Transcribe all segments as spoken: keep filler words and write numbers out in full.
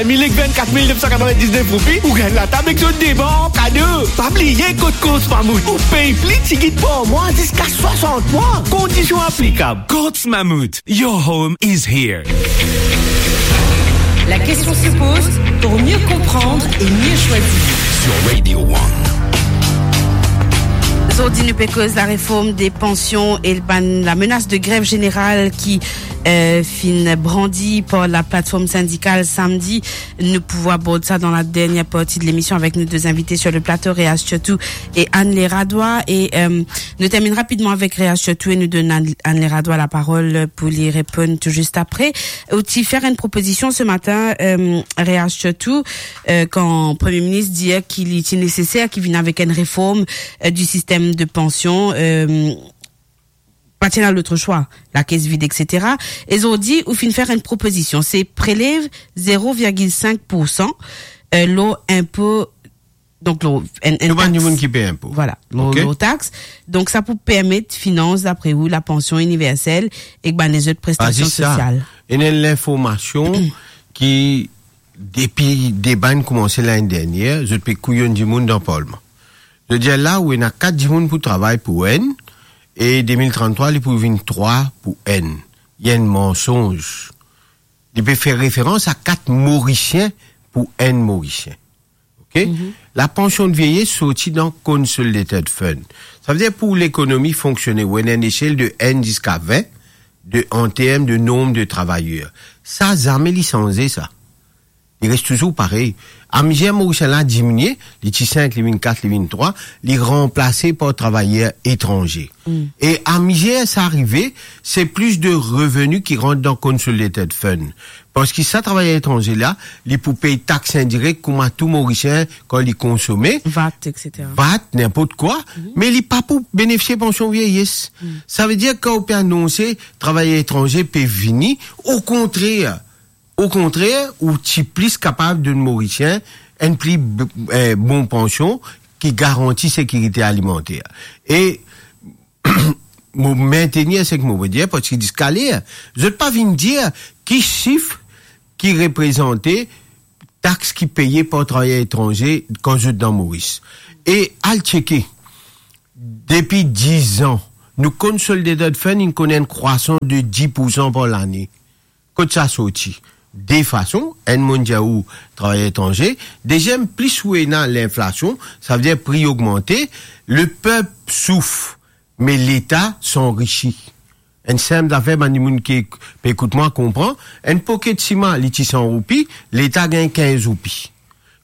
Mil ek vennkat mil nef san katrovin-diznef roupi, ou gagn latab ek zot de ban an kado. Pa bliye kot Courts Mammouth, ou pey pli tigit par mwa ziska swasant mwa. Kondision aplikab. Courts Mammouth, your home is here. La question se pose pour mieux comprendre et mieux choisir. Sur Radio One. Zordi nou pe koz lareform de pansion e bann, lamenas de grev zeneral ki, eh, finn brandi par laplatform sindikal samdi. Nou pou abord sa dan ladernie parti de lemision avek nou de invite sur le plato, Reas Tchotou e Anne Leradwa. E, eh, nou terminn rapidman avek Reas Tchotou e nou donn Anne, Anne Leradwa laparol pou li reponn tou zis apre. Ou ti fer enn propozision se matin, eh, Reas Tchotou, eh, kan Premie Minis dir ki li ti neseser ki vinn avek enn reform, eh, di sistem de pansion, eh, pa ti ena lot swa, lakes vid, et cetera. E zordi, ou finn fer enn propozision, se prelev zero virgil sink poursan, eh, lor inpo, donk lor enn, enn tax. Lor bann dimoun ki pey inpo. Vwala, lor, ok, lor tax. Donk sa pou permet finans, dapre ou, lapansion iniversel ek bann lezot prestasion sosial. Ena enn linformasion ki, depi deba inn koumanse lane dernier, zot pe kouyonn dimoun dan parlman. Zot dir la, ou ena kat dimoun pou travay pou enn, e de mil tranntrwa, li pou vinn trwa pou enn. Li enn mansonz. Li pe fer referans a kat Morisien pou enn Morisien. Ok? Mhm. Lapansion de vieyes sorti dan Consolidated Fund. Savedir pou lekonomi fonksione, ou ena enn esel de enn ziska vin, de, an term de nonb de travayer. Sa, zame li sanze, sa. Li res touzour parey. Amizer Morisien la diminie, li ti sink, li vinn kat, li vinn trwa, li ranplase par travayer etranze. Mm. E amizer sa arive, se plis de reveni ki rant dan Consolidated Fund. Parski sa travayer etranze la, li pou pey tax indirek kouma tou Morisien kan li konsome. Vat, et cetera. Vat, ninport kwa, mhm, me li pa pou benefisie pansion vieyes. Mm. Savedir kan ou pe anonse travayer etranze pe vini, okontrer, okontrer, ou ti plis kapav donn Morisien enn pli b-, eh, bon pansion ki garanti sekirite alimanter. E mo mentenir seki mo pe dir, parski ziska ler, zot pa vinn dir ki sif ki reprezante tax ki peye par travayer etranze kan zot dan Moris. E al tcheke, depi diz an, nou Consolidated Fund inn konn enn krwasans de dis poursan par lane. Kot sa sorti? De fason, enn, monn dir ou travayer etranze, deziem, plis ou ena linflasion, savedir pri ogmante, lepep souf, me Leta sanrisi. Enn sinp zafer, bann dimoun ki pe ekout mwa konpran, enn paket siman, li ti san roupi, Leta gagn kinz roupi.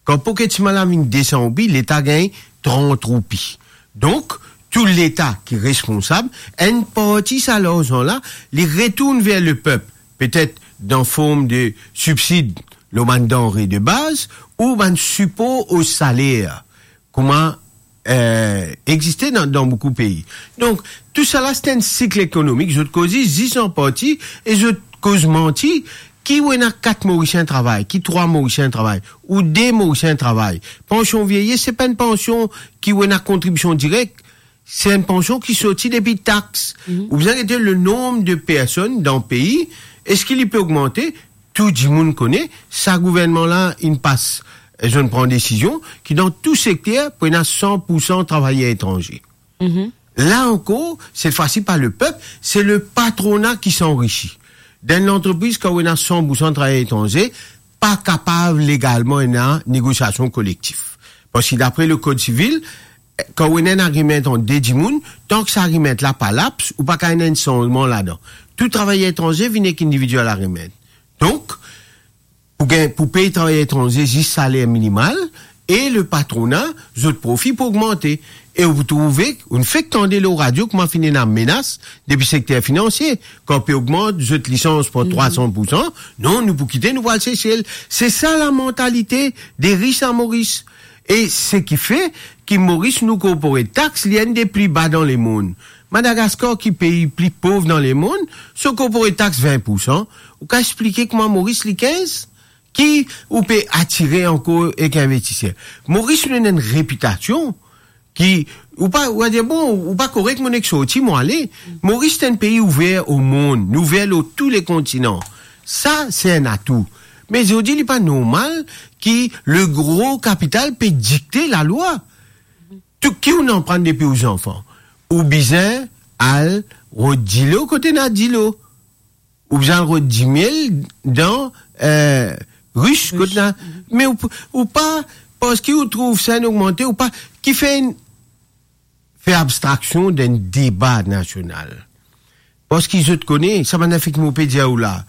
Kan paket siman la vinn de san roupi, Leta gagn trant roupi. Donk, tou Leta ki responsab, enn parti sa larzan la, li retourn ver lepep, petet dan form de sibsid lor bann danre de baz ou bann sipor o saler, kouma, eh, existe dan, dan boukou pei. Donk, tousala, se enn sik ekonomik, zot koze zis an parti e zot koz manti, ki ou ena kat Morisien travay, ki trwa Morisien travay, ou de Morisien travay. Pansion vieyes, se pa enn pansion ki ou ena kontribision direk, se enn pansion ki sorti depi tax. Mhm. Ou bizin gete le nonb de personn dan pei, eski li pe ogmante? Tou dimoun kone, sa gouvernman la inn pas, eh, zot inn pran desizion ki dan tou sekter pou ena san poursan travayer etranze. Mhm. La ankor, set fwa si pa lepep, se lepatrona ki sanrisi. Dan enn lantrepriz, kan ou ena san poursan travayer etranze, pa kapav legalman ena negosiasion kolektif. Parski dapre lekod sivil, kan ou ena enn agreement ant de dimoun, tank sa agreement la pa laps, ou pa kav ena enn sanzman ladan. Tou travayer etranze vinn ek individual agreement. Donk, pou gagn, pou pey travayer etranze zis saler minimal, e lepatrona, zot profi pou ogmante. E ou trouve, ou fek tande lor radio kouma finn ena menas depi sekter finansie, kan pe ogmant zot lisans par, mhm, trwa san poursan, non, nou pou kite, nou pou al Sesel. Se sa lamantalite de ris a Moris. E seki fer ki Moris, nou korpore tax, li enn de pli ba dan lemond. Madagaskar, ki pei pli pov dan lemond, so korpore tax vin poursan. Ou kav explike kouma Moris li kinz? Ki ou pe atire ankor ek investiser? Moris, nou ena enn repitasion ki, ou pa, ou va dir, bon, ou pa korek, mo nek sorti, mo ale. Moris, se enn pei ouver o mond, nou ouver lor tou le kontinan. Sa, se enn atou. Me zordi, li pa normal ki le gro kapital pe dikte lalwa. Tou ki ou aprann depi ou zanfan, ou bizin al rod dilo kot ena dilo. Ou bizin al rod dimiel dan, eh, rich kot ena. Me ou, ou pa, parski ou trouv sa inn ogmante, ou pa, ki fer enn, fer abstraksion dan enn deba nasional. Parski zot kone, sa bann lafet mo pe dir ou la,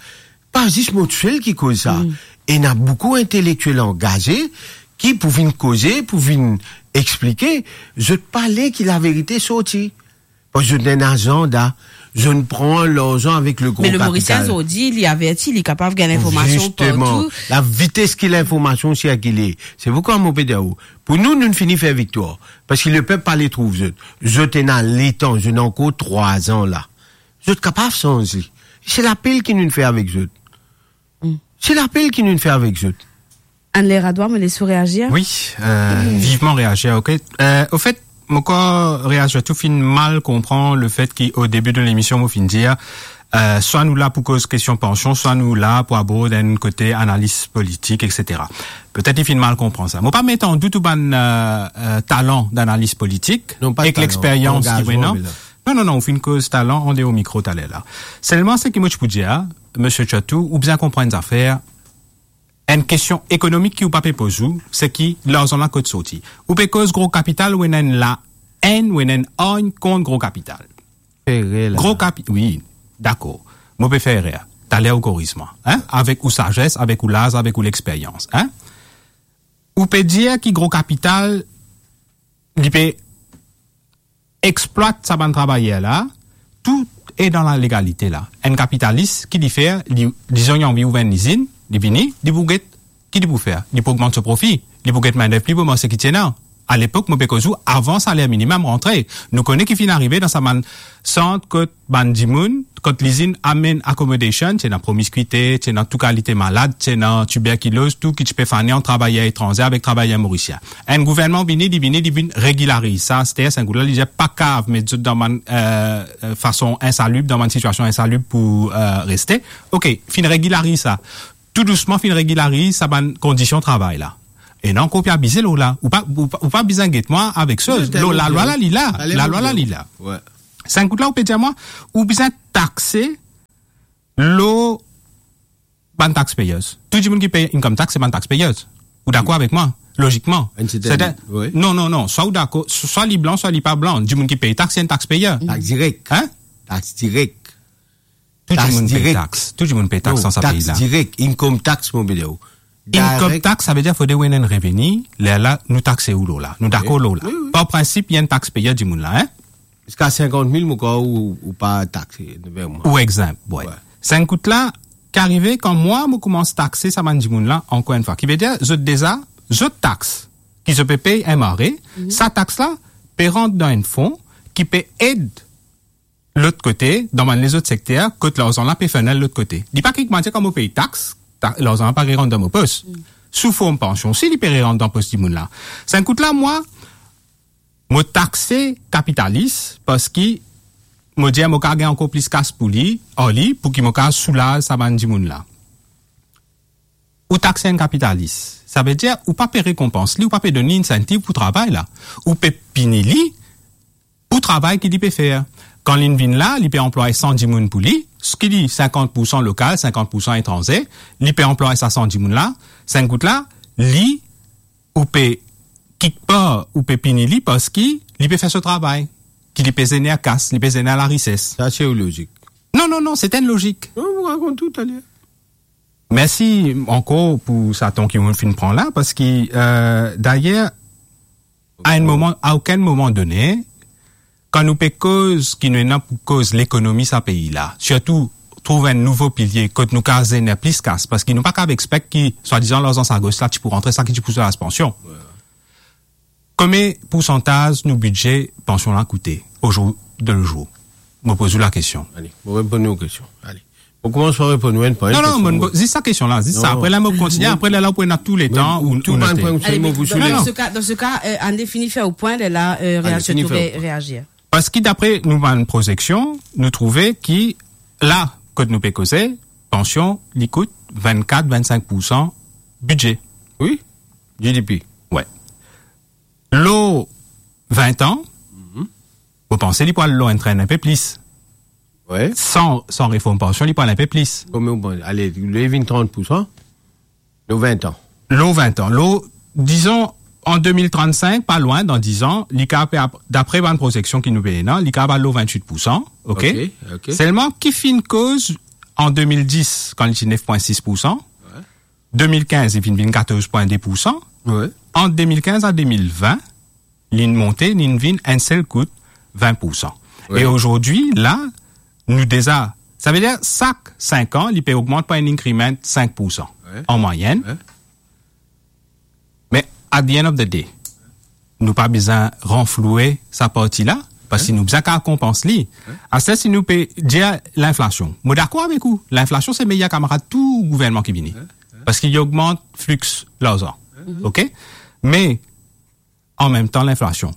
pa zis mo tousel ki koz sa. Ena boukou intelektiel angaze ki pou vinn koze, pou vinn explike, zot pa le ki laverite sorti. Parski zot ena enn azanda, zot pran larzan avek le gro kapital. Me le Morisien zordi, li averti, li kapav gagn linformasion partou. Zisteman, lavites ki linformasion sirkile. Se poukwa mo pe dir ou, pou nou, nou fini fer viktwar. Parski lepep pa le trouv zot. Zot ena letan, zot ena ankor trwa an la. Zot kapav sanze. Se lapel ki nou fer avek zot. Se lapel ki nou fer avek zot. Anne Leradwa, mo les ou reazir. Wi, euh, vivman reazir, ok. Euh, ofet, mo krwar reazir tou finn mal konpran lefet ki o debi de lemision, mo finn dir, euh, swa nou la pou koz kestion pansion, swa nou la pou abord enn kote analiz politik, et cetera. Petet li finn mal konpran sa. Mo pa met an dout ou bann, euh, euh, talan danaliz politik ek lexperyans ki ou ena. Non, non, non, ou finn koz talan andeor mikro taler la. Selman, seki mo ti pou dir, misie Tchatou, ou bizin konpran enn zafer, enn kestion ekonomik ki ou pa pe poz ou, seki larzan la kot sorti. Ou pe koz gro kapital, ou ena enn laenn, ou ena enn arn kont gro kapital. Fer erer la. Gro kapi-, wi, dakor. Mo pe fer erer. Taler ou koriz mwa, hein? Avek ou sazes, avek ou laz, avek ou lexperyans, hein? Ou pe dir ki gro kapital, li pe explwat sa bann travayer la, tou e dan lalegalite la. Enn kapitalis, ki li fer, li, dizon, li anvi ouver enn lizinn, li vini, li pou get, ki li pou fer? Li pou ogmant so profi, li pou get mindev pli bon, me seki ti ena. Alepok, mo pe koz ou, avan saler minimem rantre. Nou kone ki finn arive dan sa bann sant kot bann dimoun, kot lizinn amenn accommodation, ti ena promiskwite, ti ena tou kalite malad, ti ena tiberkiloz, tou ki ti pe fane ant travayer etranze avek travayer morisien. Enn gouvernman vini, li vini, li vinn regilariz sa. Aster, sa enn kout la, li dir pa kav met zot dan bann, euh, euh, fason insalib, dan bann sitiasion insalib pou, euh, reste. Ok, finn regilariz sa. Tou dousman finn regilariz sa bann kondision travay la. Ena ankor pe abize lor la. Ou pa, ou pa, ou pa bizin get mwa avek sa. Lor lalwa la, li la. Lalwa la, li la. Sa enn kout la, ou pe dir mwa, ou bizin takse lor bann taxpayers. Tou dimoun ki pey income tax, se bann taxpayers. Ou dakor avek mwa? Logikman. Enn serten, wi. Non, non, non. Swa ou dakor, swa li blan, swa li pa blan. Dimoun ki pey tax, se enn taxpayer. Tax direk. Hein? Tax direk. Tou dimoun pey tax. Tou dimoun pey tax dan sa pei la. Non, tax direk, income tax, mo pe dir ou. Income tax, sa ve dir fode ou ena enn reveni, lerla nou takse ou lor la. Nou dakor lor la. Wi, wi. Par prinsip, li enn taxpayer dimoun la, hein? Ziska sinkant mil, mo krwar ou, ou pa takse, ver mwa. Ou exempt, wi. Sa enn kout la, ki arive kan mwa, mo koumans takse sa bann dimoun la, ankor enn fwa. Ki ve dir, zot deza, zot tax, ki zot pe pey enn mare, sa tax la, pe rant dan enn fon, ki pe ed lot kote, dan bann lezot sekter, kot larzan la pe fini lot kote. Li pa ki mwa dir kan mo pey tax, ta-, larzan la pa rerant dan mo pos. Sou form pansion osi, li pe rerant dan pos dimoun la. Sa enn kout la, mwa, mo takse kapitalis, parski mo dir mo kav gagn ankor plis kas pou li, ar li, pou ki mo kav soulaz sa bann dimoun la. Ou takse enn kapitalis. Sa ve dir, ou pa pe rekonpans li, ou pa pe donn li insentiv pou travay la. Ou pe pini li, pou travay ki li pe fer. Kan li vinn la, li pe anplway san dimoun pou li, ki li sinkant poursan lokal, sinkant poursan etranze, li pe anplway sa san dimoun la, sa enn kout la, li, ou pe, kikpar, ou pe pini li parski li pe fer so travay, ki li pe zener kas, li pe zener larises. Sa se ou lozik. Non, non, non, se enn lozik. Non, mo rakont ou taler. Mersi ankor pou sa tan ki ou finn pran la, parski, euh, dayer, a enn moman, a okenn moman done, kan nou pe koz ki nou ena pou koz lekonomi sa pei la, sirtou trouv enn nouvo pilie kot nou kav zener plis kas, parski nou pa kav expect ki, swadizan, larzan sa gos la, ti pou rantre, sa ki ti pou swiv pansion. Konbien poursantaz nou bidze pansion la koute, ozour de zour? Mo poz ou lakestion. Ale, mo reponn ou kestion. Ale. Mo koumans par reponn ou enn par enn. Non, non, zis sa kestion la, zis sa. Apre la, mo kontinie, apre la, la, ou pou ena tou letan ou, ou note. Ale, dan se ka, dan se ka, euh, ann fini fer ou pwin, la, euh, reazir. Parski dapre nou bann prozeksion, nou trouve ki la, kot nou pe koze, pansion, li kout vinn-kat, vinn-sink poursan bidze. Wi, G D P. Wi. Lor vin an, mo panse li pou al lor enn trenn enpe plis. Wi. San, san reform pansion, li pou al enpe plis. Konbien ou panse? Ale, li vinn trant poursan. Lor vin an. Lor vin an. Lor, dizon, an de mil trann-sink, pa lwin, dan diz an, li kapav, dapre bann prozeksion ki nou pe ena, li kapav al lor vinn-wit poursan, ok? Ok, ok. Selman, ki finn koz an de mil dis, kan li ti nef pwin sis poursan, wi, de mil kinz, li vinn, vinn katorz pwin de poursan. Wi. Ant de mil kinz a de mil vin, li monte, li vinn enn sel kout vin poursan. Wi. E azordi, la, nou deza, savedir, sak sink an, li pe ogmant par enn increment sink poursan, wi, an mwayenn. Wi. Me at the end of the day, nou pa bizin ranfloue sa parti la, parski, wi, nou bizin kapav konpans li. Wi. Aster, si nou pe dir linflasion, mo dakor avek ou, linflasion se meyer kamarad tou gouvernman ki vini. Wi, wi. Parski li ogmant flix larzan. Wi. Ok? Me, an mem tan, linflasion,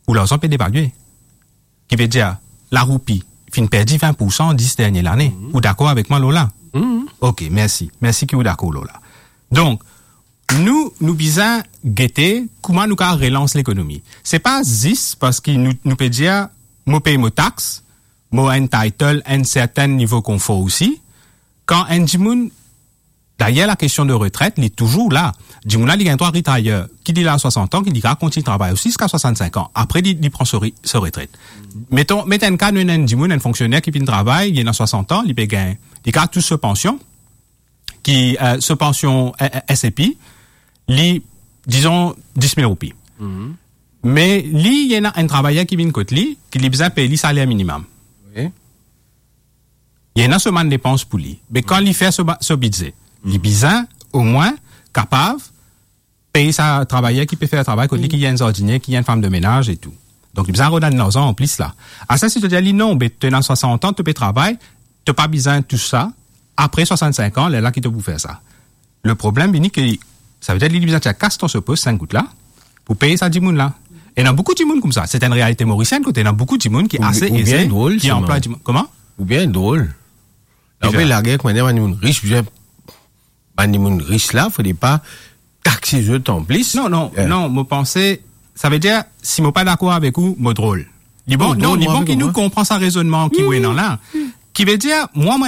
ou larzan pe devalye. Ki ve dir, laroupi finn perdi vin poursan dis dernie lane. Mhm. Ou dakor avek mwa lor la? Mhm. Ok, mersi. Mersi ki ou dakor lor la. Donk, nou, nou bizin gete kouma nou kapav relans lekonomi. Se pa zis parski nou, nou pe dir, mo pey mo tax, mo entitled enn serten nivo konfor osi. Kan enn dimoun, dayer, lakestion de retret, li touzour la. Dimoun la, li gagn drwa retire, ki li la swasant an, ki li kapav kontign travay osi ziska swasannsink an. Apre, li, li pran so re-, so retret. Meton, met enn ka, nou ena enn dimoun, enn fonksyoner ki finn travay, li ena swasant an, li pe gagn, li kapav tous so pansion, ki, eh, so pansion, eh, eh, S A P, li, dizon, dis mil roupi. Mhm. Me li, li ena enn travayer ki vinn kot li, ki li bizin pey li saler minimem. Wi. Li ena so bann depans pou li. Me kan li fer so ba-, so bidze, li bizin omwin kapav pey sa travayer ki pe fer travay kot li, ki enn zardinier, ki enn fam de menaz e tou. Donk, li bizin rod enn larzan anplis la. Aster, si to dir li, non, be, to ena swasant an, to pe travay, to pa bizin tou sa, apre swasannsink an, lerla ki to pou fer sa. Le problem vini ke, savedir li, li bizin tir kas dan so pos sink goud la, pou pey sa dimoun la. Ena boukou dimoun koumsa. Se enn realite morisienn, kot ena boukou dimoun ki ase eze, ki anplway dimoun. Kouma? Oubien drol. Oubien drol. Ki fer? Lager, kouma dir, bann dimoun ris, bizin, bann dimoun ris la, fode pa takse zot anplis. Non, non, eh, non, mo panse, savedir, si mo pa dakor avek ou, mo drol. Li bon, non, non, li bon ki nou konpran sa rezonnman ki ou ena la. Ki ve dir, mwa, mwa,